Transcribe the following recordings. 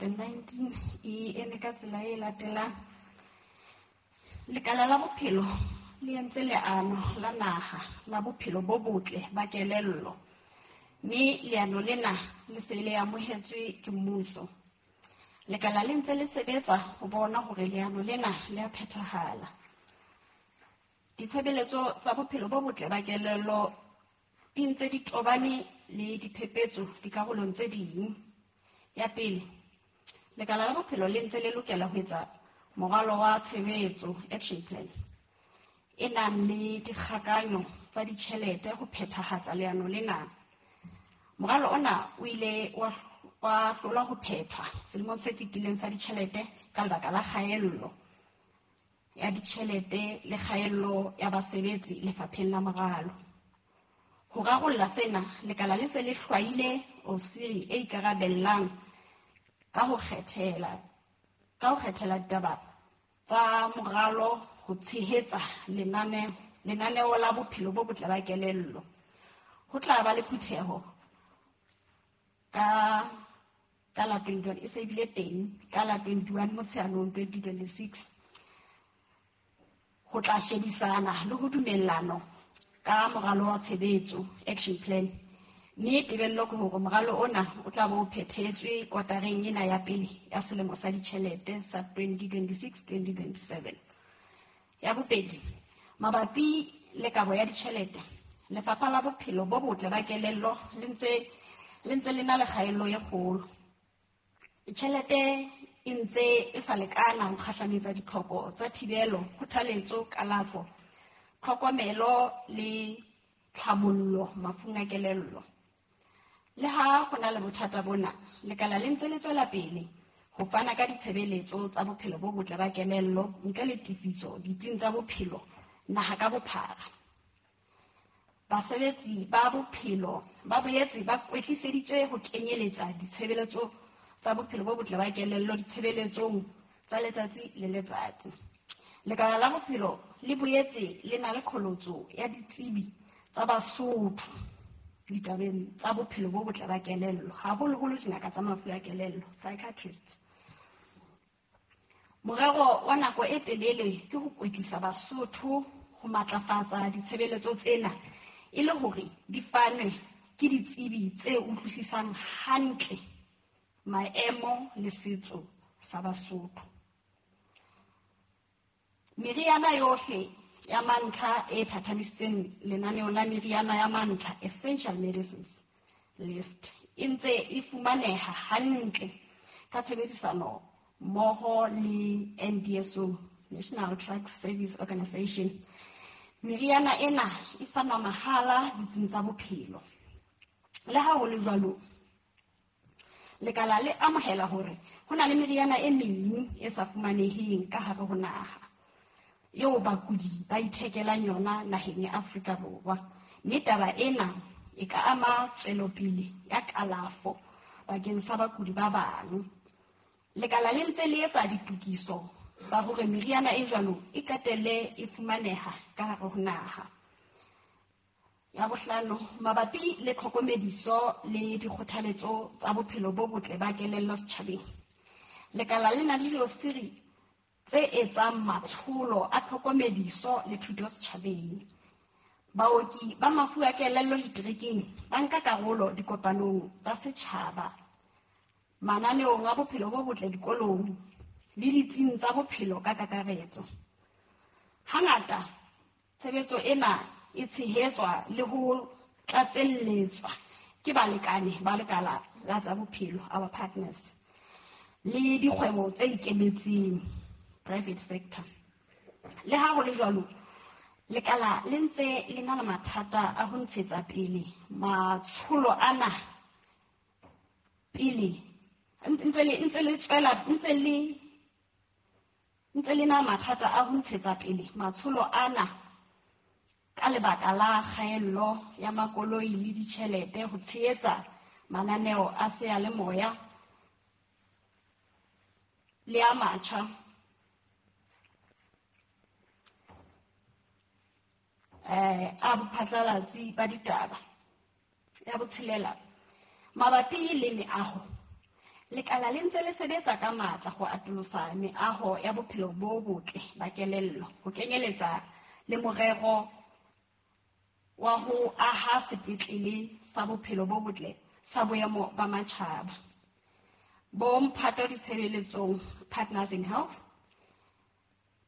2019 e eme ka tsela e latelang. Lekala la bophelo le entse leano la naha la bophelo bo botle ba kelello, mme leano lena le se le amohetswe ke mmuso. Lekala le ntse le sebetsa ho bona hore leano lena le a phethahala. Ditshebeletso tsa bophelo bo botle ba kelello di ntse di tobane le diphephetso dikarolong tse ding. Ya pele, lekala la bophelo le ntse le lokela ho etsa moralo wa tshebetso, action plan, e nang le dikgakanyo tsa ditjhelete ho phethahatsa leano lena. Moralo ona o ile wa hlolwa ho phethwa selemong se fetileng sa ditjhelete ka lebaka la kgaello ya ditjhelete le kgaello ya basebetsi lefapheng la moralo. Ho rarolla sena, lekala le se le hlwaile ofisiri e ikarabellang ka ho kgethela ditaba tsa moralo ho tshehetsa lenaneo la bophelo bo botle ba kelello. Ho tla ba le phutheho ka la 21, e se bile teng ka la 21 Motsheanong 2026, ho tla shebisana le ho dumellano ka moralo wa tshebetso, action plan, mme tebello ke hore moralo ona o tla bo o phethetswe kotareng ena ya pele ya selemo sa ditjhelete sa 2026-2027. Ya bobedi, mabapi le kabo ya ditjhelete, Lefapha la Bophelo bo Botle ba Kelello le ntse le na le kgaello e kgolo. Tjhelete e ntse e sa lekana ho kgahlametsa ditlhoko tsa thibelo, kgothaletso, kalafo, tlhokomelo le tlhabollo mafung a kelello. Le ha ho na le bothata bona, lekala le ntse le tswela pele ho fana ka ditshebeletso tsa bophelo bo botle ba kelello ntle le tefiso ditsing tsa bophelo naha ka bophara. Basebetsi ba bophelo ba boetse ba kwetliseditswe ho kenyeletsa ditshebeletso tsa bophelo bo botle ba kelello ditshebeletsong tsa letsatsi le letsatsi. Lekala la bophelo le boetse le na le qholotso ya ditsebi tsa Basotho ditabeng tsa bophelo bo botle ba kelello, haholoholo dingaka tsa mafu a kelello, psychiatrists. Morero wa nako e telele ke ho kwetlisa Basotho ho matlafatsa ditshebeletso tsena e le hore di fanwe ke ditsebi tse utlwisisang hantle maemo le setso sa Basotho. Meriana yohle ya mantlha e thathamisitsweng lenaneong la meriana ya mantlha, Essential Medicines List, e ntse e fumaneha hantle ka tshebedisano mmoho le NDSO, National Drug Service Organization. Meriana ena e fanwa mahala ditsing tsa bophelo. Le ha ho le jwalo, lekala le amohela hore ho na le meriana e meng e sa fumaneheng ka hare ho naha, eo bakudi ba ithekelang yona naheng ya Afrika Borwa, mme taba ena e ka ama tswelopele ya kalafo bakeng sa bakudi ba bang. Lekala le ntse le etsa ditokiso tsa hore meriana e jwalo e qetelle e fumaneha ka hare ho naha. Ya bohlano, mabapi le tlhokomediso le dikgothaletso tsa bophelo bo botle ba kelello setjhabeng, lekala le na le diofisiri tse etsang matsholo a tlhokomediso le thuto setjhabeng. Baoki ba mafu a kelello diterekeng ba nka karolo dikopanong tsa setjhaba, mananeong a bophelo bo botle dikolong le ditsing tsa bophelo ka kakaretso. Hangata tshebetso ena e tshehetswa le ho tlatselletswa ke balekane ba lekala la tsa bophelo, our partners, le dikgwebo tse ikemetseng, private sector. Le ha ho le jwalo, lekala le ntse le na le mathata a ho ntshetsa pele matsholo ana pele ntse le na mathata a ho ntshetsa pele matsholo ana ka lebaka la kgaello ya makoloi le ditjhelete ho tshehetsa mananeo a seyalemoya le a matjha. A bophatlalatsi ba ditaba. Ya botshelela, mabapi le meaho, Lekala le ntse le sebetsa ka matla ho atolosa meaho ya bophelo bo botle ba kelello, ho kenyeletsa le morero wa ho aha sepetlele sa bophelo bo botle sa boemo ba matjhaba. Bo mphato ditshebeletsong Partners in Health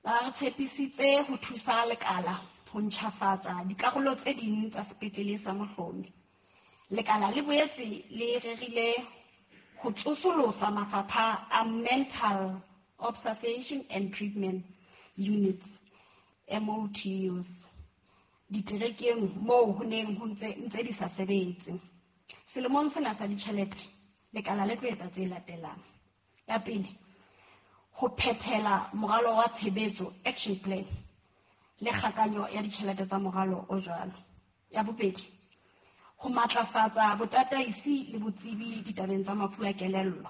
ba re tshepisitse ho thusa lekala ho ntjhafatsa dikarolo tse ding tsa sepetlele sa Mohlomi. Lekala le boetse le rerile ho tsosolosa mafapha a Mental Observation and Treatment Units, MOTUs, diterekeng moo ho neng ho ntse di sa sebetse. Selemong sena sa ditjhelete, lekala le tlo etsa tse latelang. Ya pele, ho phethela moralo wa tshebetso, action plan, le kgakanyo ya ditjhelete tsa moralo o jwalo. Ya bobedi, ho matlafatsa botataisi le botsebi ditabeng tsa mafu a kelello.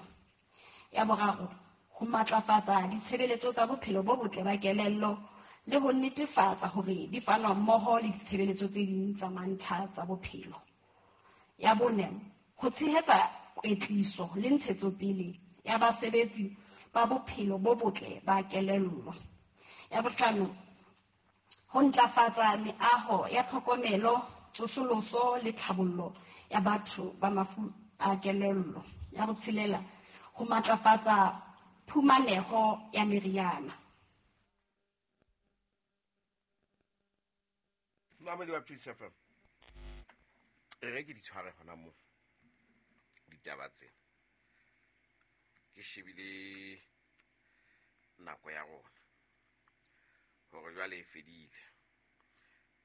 Ya boraro, ho matlafatsa ditshebeletso tsa bophelo bo botle ba kelello le ho netefatsa hore di fanwa mmoho le ditshebeletso tse ding tsa mantlha tsa bophelo. Ya bone, ho tshehetsa kwetliso le ntshetsopele ya basebetsi ba bophelo bo botle ba kelello. Ya bohlano, ho ntlafatsa meaho ya tlhokomelo, tsosoloso le tlhabollo ya batho ba mafu a kelello. Ya botshelela, ho matlafatsa phumaneho ya meriana. Mamedi wa Peace FM, e re ke di tshware hona moo ditaba tsena. Ke shebile nako ya rona hore jwale e fedile.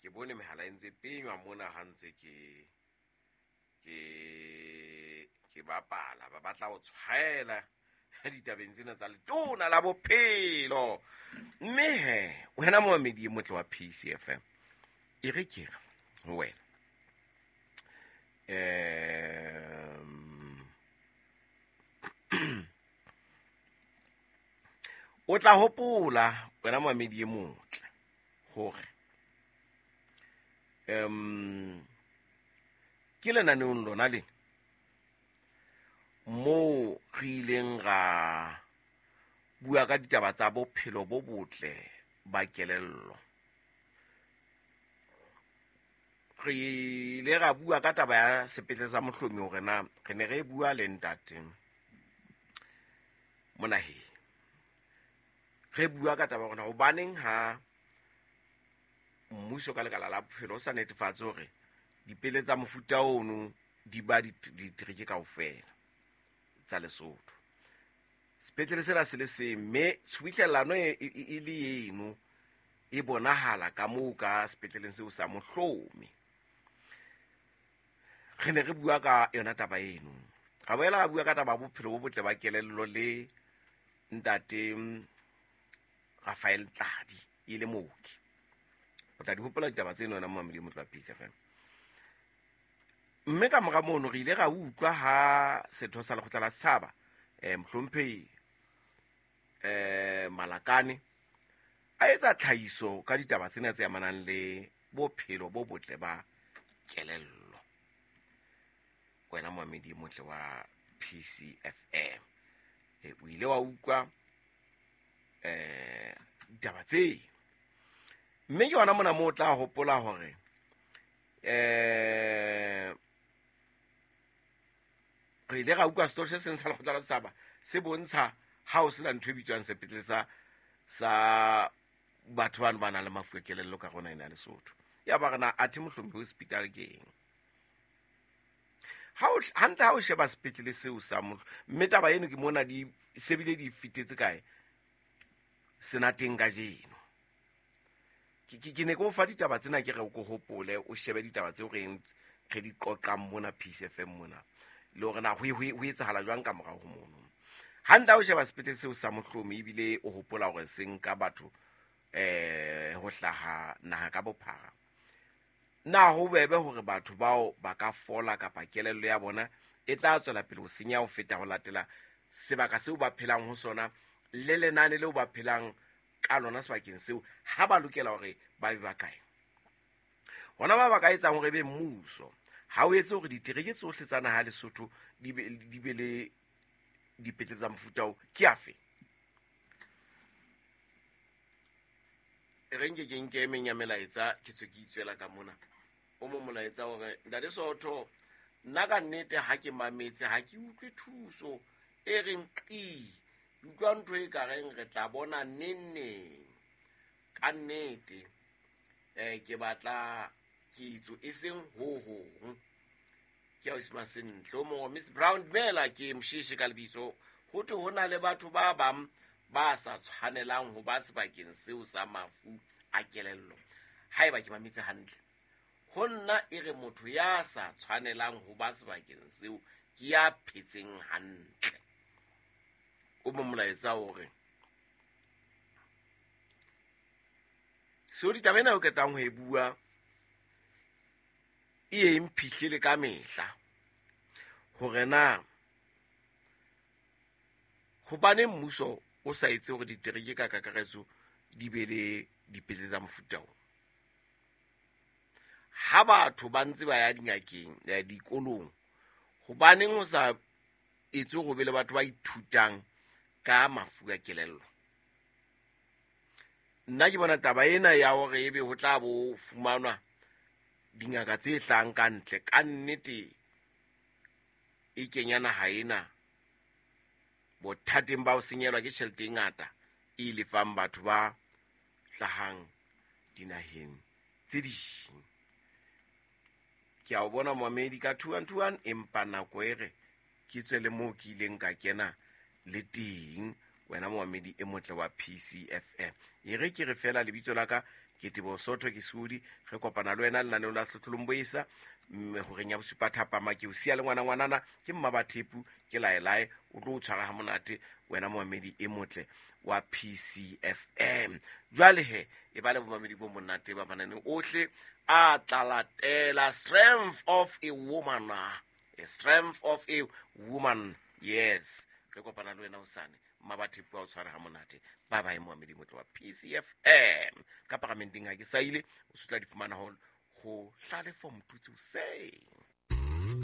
Ke bone mehala e ntse penywa mona ha ntse ke bapala, ba batla ho tshwaela ditabeng tsena tsa letona la bophelo. Mme he wena momamedi e motle wa PCFM, e re ke re ho wena, o tla hopola wena momamedi e motle hore ke lenaneong lona lena moo re ileng ra bua ka ditaba tsa bophelo bo botle ba kelello. Re ile ra bua ka taba ya sepetlele sa Mohlomi hore na re ne re bua le ntate Monaheng. Re bua ka taba hore na hobaneng ha mmuso ka lekala la bophelo o sa netefatse hore dipele tsa mofuta ono di ba ditereke kaofela tsa Lesotho. Sepetlele sena se le seng, mme tshubuhlellano e le eno e bonahala ka moo ka sepetleleng seo sa Mohlomi. Re ne re bua ka yona taba eno. Ra boela ra bua ka taba ya bophelo bo botle ba kelello le ntate Raphael Tladi, e le mooki. O tla di hopola ditaba tseno wena momamedi e motle wa Peace FM. Mme ka mora mono re ile ra utlwa ha setho sa lekgotla la setjhaba, mohlomphehi, Malakane a etsa tlhahiso ka ditaba tsena tse amanang le bophelo bo botle ba kelello. Wena momamedi e motle wa PCFM, o ile wa utlwa ditaba tse. Mme ke yona mona moo o tla hopola hore re ile ra utlwa setori se seng sa lekgotla la setjhaba se bontsha ha o sena ntho e bitswang sepetlele sa batho bano ba nang le mafu a kelello ka rona ena ya Lesotho. Ya ba re na athe Mohlomphehi hospital ke eng? Hantle ha o sheba sepetlele seo sa Mohlomphehi, mme taba eno ke mona di sebile di fitetse kae senateng kajeno. Ke ne ke o fa ditaba tsena ke re o ko hopole, o shebe ditaba tseo re di qoqang mona Peace FM mona, le hore na ho etsahala jwang ka morao ho mono. Hantle ha o sheba sepetlele seo sa Mohlomi, ebile o hopola hore se nka batho ho hlaha naha ka bophara, na ho bebe hore batho bao ba ka fola kapa kelello ya bona e tla tswela pele ho senya ho feta ho latela sebaka seo ba phelang ho sona le lenane leo ba phelang ka lona sebakeng seo, ha ba lokela hore ba be ba kae? Hona ba ka etsang hore ebe mmuso ha o etse hore ditereke tsohle tsa naha ya Lesotho di be le dipetlele tsa mofuta oo ke afe? E re nke ke nke e meng ya melaetsa ke tswe ke itswela ka mona. O mo molaetsa hore ntate Sootho, nna ka nnete ha ke mametse ha ke utlwe thuso e reng qi. Ke utlwa ntho e ka reng re tla bona neng neng. Ka nnete ke batla ketso e seng ho hong. Ke a o sima sentle. O mongwe Miss Brown, dumela, ke Mosheshi ka lebitso. Ho thwe ho na le batho ba bang ba sa tshwanelang ho ba sebakeng seo sa mafu a kelello. Haeba ke mametse hantle, ho nna e re motho ya sa tshwanelang ho ba sebakeng seo ke ya phetseng hantle. O mo molaetsa hore seo ditaba ena o qetang ho e bua e ye mphihlele ka mehla hore na hobane mmuso o sa etse hore ditereke ka kakaretso di be le dipetlele tsa mofuta o. Ha batho ba ntse ba ya dingakeng, dikolong, hobaneng ho sa etse hore be le batho ba ithutang ka mafu a kelello? Nna ke bona taba ena ya hore ebe ho tla bo fumanwa dingaka tse hlahang ka ntle, ka nnete e kenya naha ena bothateng ba ho senyelwa ke tjhelete e ngata e lefang batho ba hlahang dinaheng tse ding. Ke a o bona momamedi ka 2121, empa nako e re ke tswe le moo ke ileng ka kena le teng, wena momamedi e motle wa PCFM. E re ke re fela lebitso la ka ke Teboho Sootho, ke Sudi. Re kopana le wena lenaneong la Sehlohlolong Boesa, mme horeng ya bosupa thapama ke o siya le ngwana ngwanana, ke Mmabathepu, ke laelae, o tlo o tshwara ha monate wena momamedi e motle wa PCFM. Jwale he, e ba le bomamedi bo monate ba mananeo ohle a tla latela. Strength of a woman, a strength of a woman, yes. Re kopana le wena hosane, Mmabathepu a o tshware ha monate. Bye bye momamedi motle wa PCFM. Ka paramenteng ha ke saile, o se tla di fumana ho Hlalefo Motutsi hoseng.